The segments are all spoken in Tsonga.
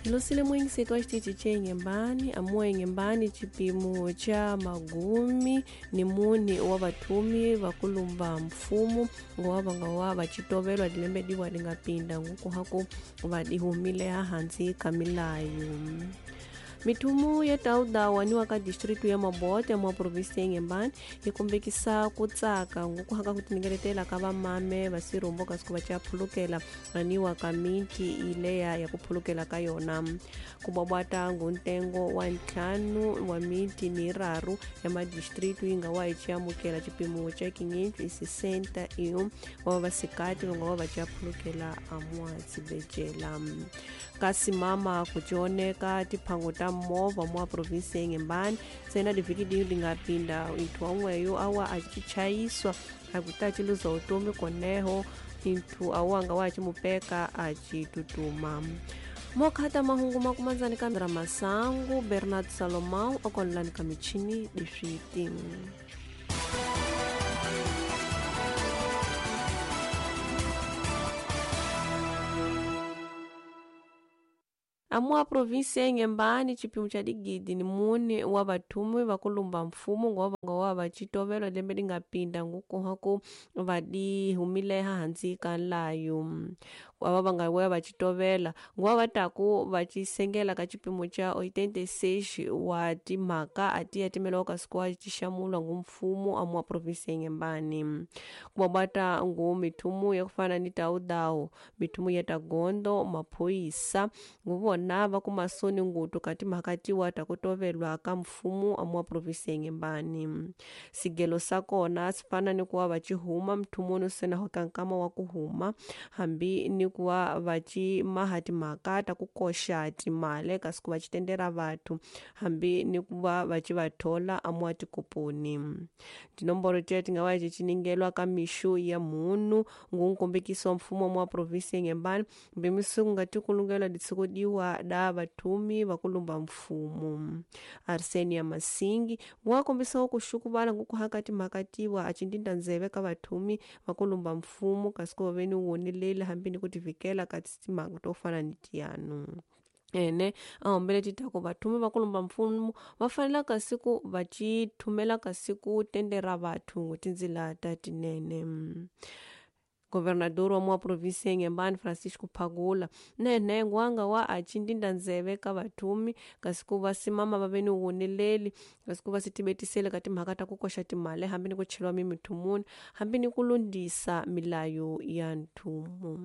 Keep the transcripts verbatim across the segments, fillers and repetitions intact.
Hilosile mwingiseto wa xitichi ce Inhembane amuwa Inhembane xipimo xa magumi ni mune wa vathumi va kulumba mfumo ngowa va nga wa va xitovelwa dilembe diwa di nga pinda ngukuhaku va dihumile hansi ka milayo. Mithumu ya taudawa niwa ka distritu ya Mabote mwa provinsi ya Inhembane yi kombekisa ku tsaka ngukuhaka ku tiningeletela ka vamame va sirumbo kasi ku va ca phulukela aniwa ka miti ileya ya ku phulukela ka yona ku bwabwata nguntengo wa ntlhanu wa miti ni raru ya madistritu yi nga wa yi amukela xipimo xa quinhentos e sessenta e um wa vasikati va nga wa va ca phulukela amwa xibejela kasi mama ku tioneka tiphango ta movha mwa provinsi ya Inhembane sena divhiki diyo lingapinda inthu wamweyo awa acichayiswa akuti aciluza utomi koneho inthu awanga wa acimupeka acitutuma. Mokhata mahungu makumanzani ka Masangu Bernard Salomão okonlani ka michini diswiti. Amua provinsi ya Inhembane xipimo xa digidi ni mune wa vathumi va kulumba mfumo ngowa va nga wa va xitovelwa lembe li nga pinda ngukuhaku va dihumile hansi ka nlayo ava va nga wa va xitovela nguva va taku va xisengela ka xipimo xa oitenta e seis wa timhaka a ti ya timelawa ka siku wa xixamulwa ngu mfumo amua provinsi ya Inhembane ku bwabwata ngu mithumu ya ku fana ni taudawu mithumu ya tagondo maphoyisa nguvo na va kuma soni ngutu ka timhaka tiwa ta ku tovelwa ka mfumo amua provinsi ya Inhembane sigelo sa kona swi fana ni ku va va xihuma mthumuni sena ho ka nkama wa ku huma hambi ni ku va va ximaha timhaka ta ku koxa timali kasi ku va xitendera vathu hambi ni ku va va xi va thola amua tikoponi tinomboro tiya ti nga va xiningelwa ka mixu ya munhu ngunkombekiso wa mfumo amua provinsi ya Inhembane mbimisiku nga tikulungela ditsiko diwa da vathumi va kulumba mfumo. Arsenia Masingi wa kombisa ku xukuvala ngukuhaka timhaka tiwa a cindinda ndzeve ka vathumi va kulumba mfumo kasi ku veni wonilele hambi ni ku tivikela ka timhaka to fana ni tiyanu. Ene a hombele titaku vathumi va kulumba mfumo va fanela kasi ku va xithumela kasi ku tendera vathu tindzila ta tinene. Governador wa mwa provinsi ya Inhembane Francisco Phagula nene ngwanga wa acindinda ndzeve ka vathumi kasi ku va simama va ve ni woneleli kasi ku va sitibetisele ka timhaka ta ku koxa timali hambi ni ku cheliwa mimithumuni hambi ni ku lundisa milayo ya nthumu.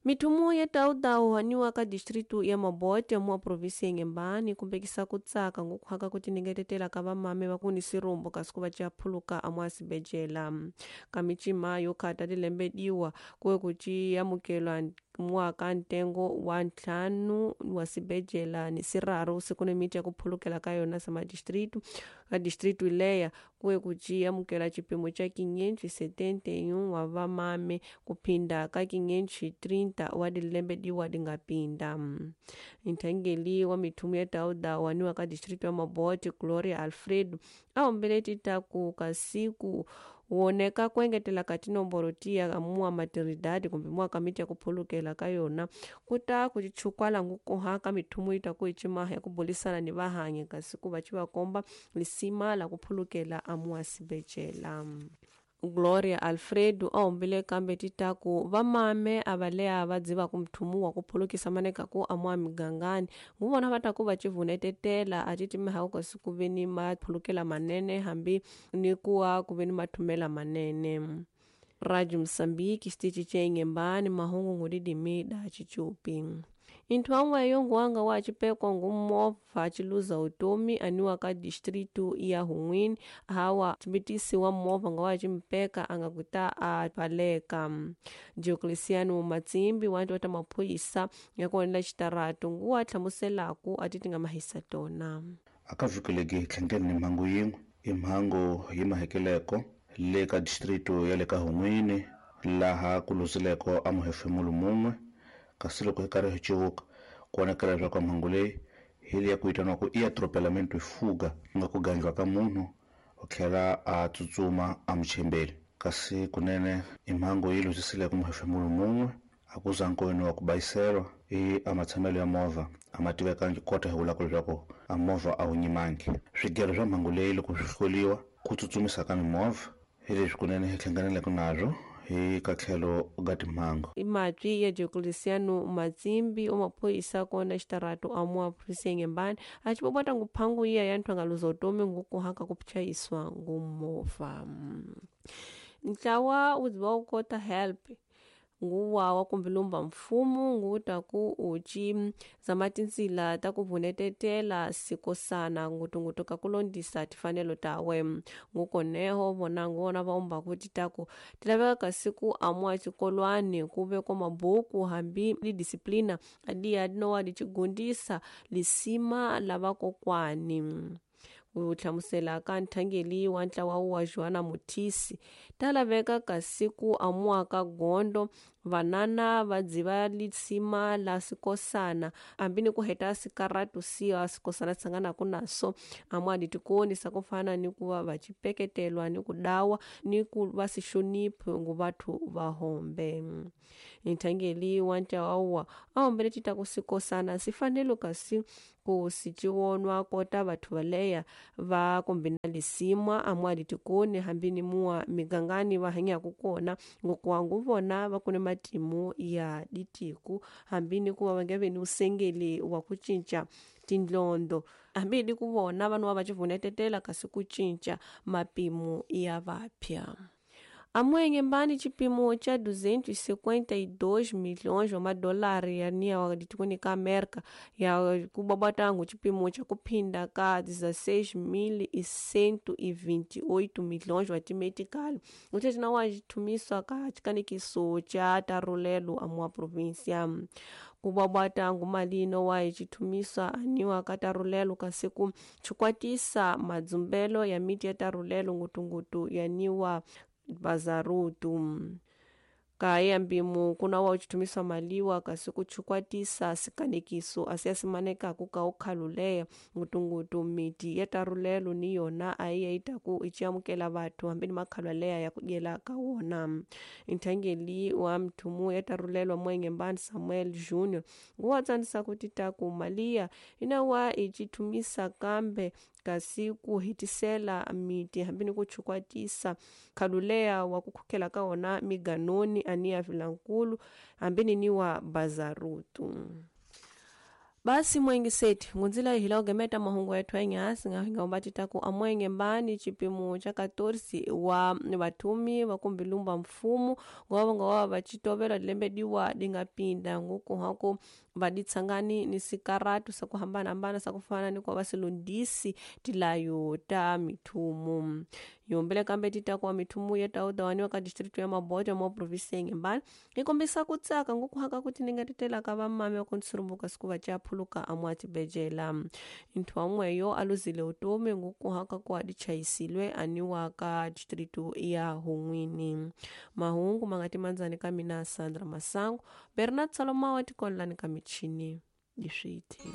Mithumu ya taudawu haniwa ka distritu ya Mabote mwa provinsi ya Inhembane kumbekisa ku tsaka ngukuhaka ku tiningetetela ka vamame va ku ni sirumbo kasi ku va ca phuluka amwa sibejela ka micima yo khata tilembe diwa kuwe ku ci amukelwa mwaka ntengo wa ntlhanu wa sibejela ni siraru siku ni miti ya ku phulukela ka yona sama distritu ka distritu leya kuwe ku ci amukela xipimo xa quinhentos e setenta e um wa vamame ku phinda ka quinhentos e trinta wa dilembe diwa di nga pinda. Nthangeli wa mithumu ya taudawa niwa ka distritu ya Mabote Gloria Alfredo a hombele titaku ka siku woneka ku engetela ka tinomboro tiya amua maternidade kumbe mua ka miti ya ku phulukela ka yona ku ta ku chukwala ngukuha ka mithumu yi ta ku icimaha ya ku bulisana ni vahanyi kasi ku va ci va komba lisima la ku phulukela amua sibejela. Gloria Alfredo a hombile kambe titaku vamame a va leha va dziva ku mthumu wa ku phulukisa maneka ku amua migangani nguvona va ta ku va civunetetela a ti timeha kasi ku ve ni maphulukela manene hambi ni ku wa ku ve ni mathumela manene. Radio Mozambique xitichi xa Inhembane mahungu ngudidimi da xicupi. Inthu amweyo nguwanga wa xipekwa ngumovha ciluza utomi aniwa ka distritu ya Hun'wini hawa tsimbitisi wa movha nga wa ximpeka a nga kuta a baleka. Diocleciano Matsimbi wa ta maphorisa ya ku xitaratu nguwa hlamuselaku a ti ti nga mahisa tona. Aka vhikeleki tlhangeni ni mhangu yin'we i mhangu yi mahekeleko le ka distritu ya le ka Hun'wini laha ku luzileko a muhefemulo mun'we kasi loko hi karhi hi civuka ku vonakala leswaku mhangu leyi hi leya ku vitaniwaku i atropelamento fuga ku nga ku gandliwa ka munhu u tlhela a tsutsuma a muchembeli kasi kunene i mhangu yi luzisileko muhefemulo mun'we A ku za nkoweni wa ku bayiselwa i a matshamelo ya movha a ma tivekangi kota hi vulaka leswaku a movha a wu nyimangi. Swigelo swa mhangu leyi loko swi hloliwa ku tsutsumisa ka mimovha hi leswi kunene hi hlanganeleke nazwo hi ka tlhelo ga timhangu. I matwi ya Diocleciano Matsimbi o maphorisa kona xitarato a mua provinsi ya Inhambane a tshi bobota nguphangu iya ya nthwangalo zotomi ngukuhaka ku pchayiswa ngumovha. Ntlawa wu dziva wu kota help nguwa wa kumbe lumba mfumo nguta ku uchi zama tintsila ta ku vunetetela sikosana ngutungutu ka kulondisa tifanelo tawe ngukoneho vona ngona va umba kuti taku tilaveka kasi ku amwa xikolwani ku vekwa mabuku hambi li disciplina adiya dinowa lichigundisa lisima la vakokwani. Ku hlamusela ka nthangeli wa ntlawa wa Joana Mutisi ta laveka kasi ku amua ka gondo vanana va dziva lisima la sikosana hambi ni ku heta sikaratu siya sikosana tshanganaku naso amua ditikoni sa ku fana ni ku va va chipeketelwa ni ku dawa ni ku va si hloniphi ngu vathu va hombe. Nthangeli wa ntlawa wa a hombele tita ku sikosana si fanele kasi ku si ciwonwa kota vathu valeya va kumbe na lisima amua ditikoni hambi ni mua migangani va hanyaku kona ngokwangu vona va kune matimu ya ditiku hambi ni ku va va nge ve ni usengeli wa ku cinca tindlondo hambi ni ku vona vanhu va va civunetetela kasi ku cinca mapimo ya vapya. Amwenge mbani chipimo cha duzentos e cinquenta e dois milhões wa madolari ya nia wa ditikoni ka Amerika ya kubabatangu chipimo cha kuphinda ka dezesseis mil e cento e vinte e oito milhões wa timetikali uthe wa chithumiswa ka chikanikiso cha tarulelo amwa província. Kubabatangu malino wa chithumiswa aniwa ka tarulelo kasi ku chikwatisa madzumbelo ya miti ya tarulelo ngutungutu ya niwa bazarutu. Kaya mbimu kuna wa uchitumiswa maliwa kasi kuchukwatisa sikanekiso asiasimaneka kuka ukhaluleya ngutungutu miti ya tarulelo ni yona aiya itaku ichiamukela vathu hambi ni makhaluleya ya kudyela ka wona. Nthangeli wa mthumu ya tarulelo mwenge mbani Samuel Junior nguwa tsanisa kuti taku maliya inawa ichithumisa kambe kasi ku hitisela miti hambi ni ku chukwatisa khaluleya wa kukhukhela ka wona miganoni ania vilankulu hambi ni wa bazarutu. Basi mwengi seti ngunzila hila ugemeta mahungu yetu enyasi nga umbatita ku amwenge mbani chipimo cha katorsi wa vathumi va kumbilumba mfumo ngova ngova vachitovela lembe diwa dingapinda nguku hako vaditsangani ni sikaratu sa kuhambana hambana sa kufana ni kwa vasilondisi tilayo ta mithumu yombele kambe tita kwa mithumu ya taudawaniwa ka district ya Mabote mo province ya Inhambane ikombisa kutsaka nguku haka kuti ningatitela ka vamame wa kunsurumbuka siku va phuluka amwa tibejela. Nthu amweyo aluzile utomi ngukuhaka kwa dichaisilwe aniwa ka district ya Hunwini. Mahungu mangati manzani ka mina Sandra Masango Bernard Saloma wa tikolani ka michini diswiti.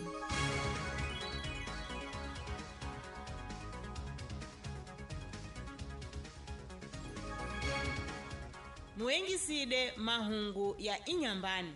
Muengiside mahungu ya Inhambane.